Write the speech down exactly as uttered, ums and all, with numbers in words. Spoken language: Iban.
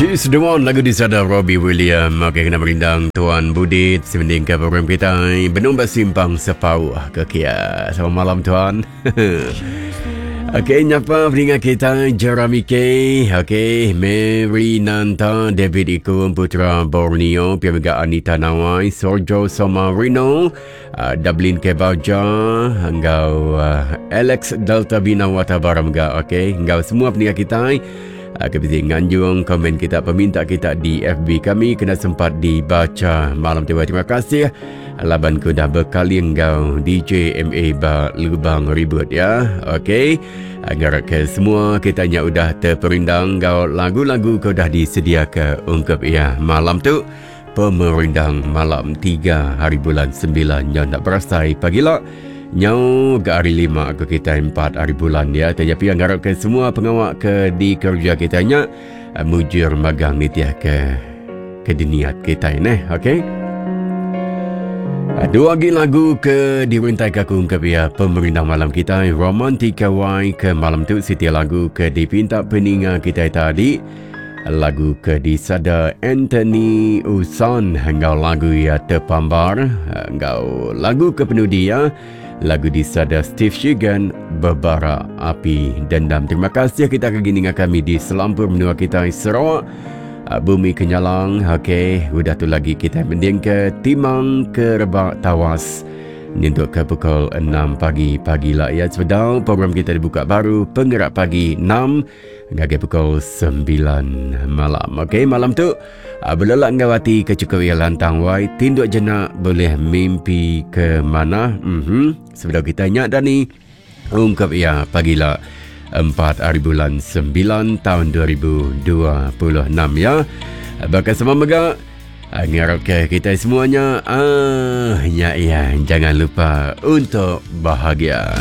She's the One, lagu disada Robbie William. Okey, kena merindang Tuan Budit sebending ke program kita Benung Bersimpang Sepauh ke Kia. Selamat malam Tuan. Okey, nyapa peningat kita Jeremy K. Okey, Mary Nanta, David Ikum, Putra Borneo, Pia Mega Anita Nawai, Sorjo Somarino, uh, Dublin Kebaja, enggau uh, Alex Delta Bina Watabara mga. Okey, enggau semua peningat kita. Kebisi nganjung komen kita, peminta kita di F B kami kena sempat dibaca malam tiba. Terima kasih laban ku dah berkali enggau D J M A ba lubang ribut ya. Okey, ngarap ke semua kita nya udah terperindang enggau lagu-lagu ke udah disediakan ungkup ya malam tu. Pemerindang malam tiga hari bulan sembilan nya nak berasai pagi lah. Nyau ke hari lima ke kita empat hari bulan ya. Tetapi yang ngarap ke semua pengawak ke di kerja kita nya mujur magang nitiah ke ke diniat kita ni. Okey. Dua lagi lagu ke dirintai ke aku ke pia pemerintah malam kita Romantika Y ke malam tu setiap lagu ke dipinta peninga kita tadi. Lagu ke disada Anthony Usan enggau lagu ya Terpambar, enggau lagu ke penudi ya lagu disada Steve Shigan Bebara Api Dendam. Terima kasih kita ke gini dengan kami di selampur menua kita Sarawak, Bumi Kenyalang. Okey, udah tu lagi kita mending ke Timang ke Rebak Tawas nyentuk ke pukul enam pagi pagi lah ya. Sebedau program kita dibuka baru penggerak pagi enam hingga pukul sembilan malam. Okey, malam tu berlelak ngau hati kecukup ia lantang wai tinduk jenak boleh mimpi ke mana. Mhm. Sebedau kita nyak dah ni ungkap ia pagi lah empat hari bulan sembilan tahun dua ribu dua puluh enam ya. Bakal sama megak ngarap ke kita semuanya ah ya ya jangan lupa untuk bahagia.